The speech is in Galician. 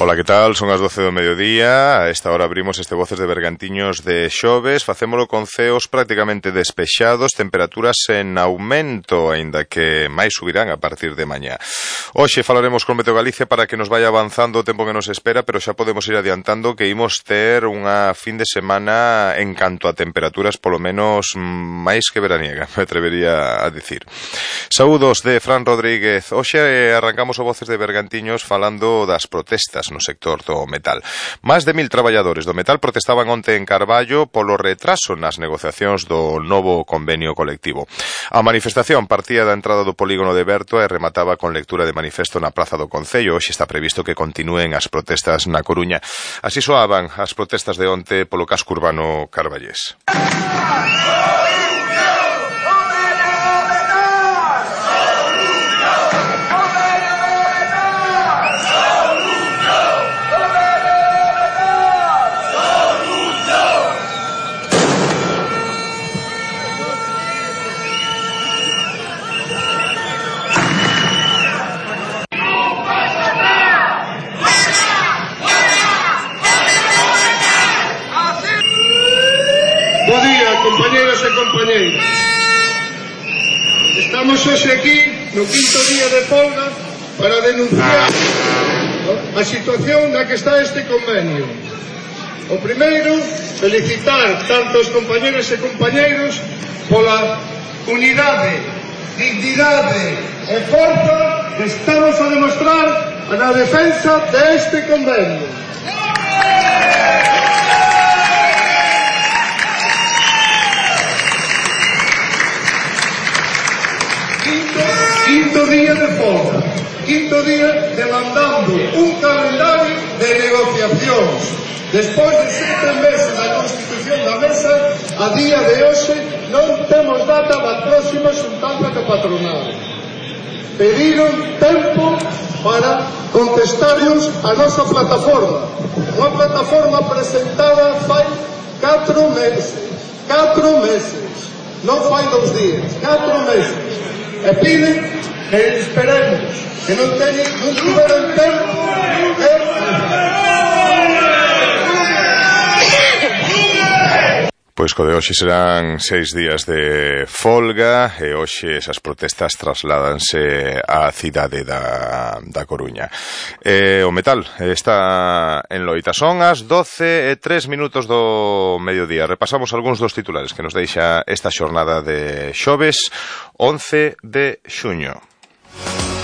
Ola, que tal? Son as 12 do mediodía. A esta hora abrimos este Voces de Bergantiños de xoves. Facémolo con ceos prácticamente despexados, temperaturas en aumento, aínda que máis subirán a partir de mañá. Hoxe falaremos con Meteo Galicia para que nos vaya avanzando o tempo que nos espera, pero xa podemos ir adiantando que imos ter unha fin de semana en canto a temperaturas polo menos máis que veraniega, me atrevería a dicir. Saúdos de Fran Rodríguez. Hoxe arrancamos o Voces de Bergantiños falando das protestas no sector do metal. Máis de 1000 traballadores do metal protestaban onte en Carballo polo retraso nas negociacións do novo convenio colectivo. A manifestación partía da entrada do polígono de Berto e remataba con lectura de manifesto na Praza do Concello. Hoxe está previsto que continúen as protestas na Coruña. Así soaban as protestas de onte polo casco urbano carballés. Bo día, compañeros e compañeiras. Estamos hoxe aquí no quinto día de folga para denunciar a situación na que está este convenio. O primeiro, felicitar tanto os compañeros e compañeiros pola unidade, dignidade e forza que estamos a demostrar na defensa deste convenio. Quinto día de folga, quinto día demandando un calendario de negociacións. Despois de 7 meses da constitución da mesa, a día de hoxe non temos data da próxima xuntanza da patronal. Pediron tempo para contestarnos a nosa plataforma. Unha plataforma presentada fai 4 meses. 4 meses. Non fai 2 días. 4 meses. E piden que esperemos, que non tiveron tempo Pois co de hoxe serán 6 días de folga e hoxe esas protestas trasládanse á cidade da Coruña. O metal está en loita. Son as 12:03 do mediodía. Repasamos algúns dos titulares que nos deixa esta xornada de xoves 11 de xuño.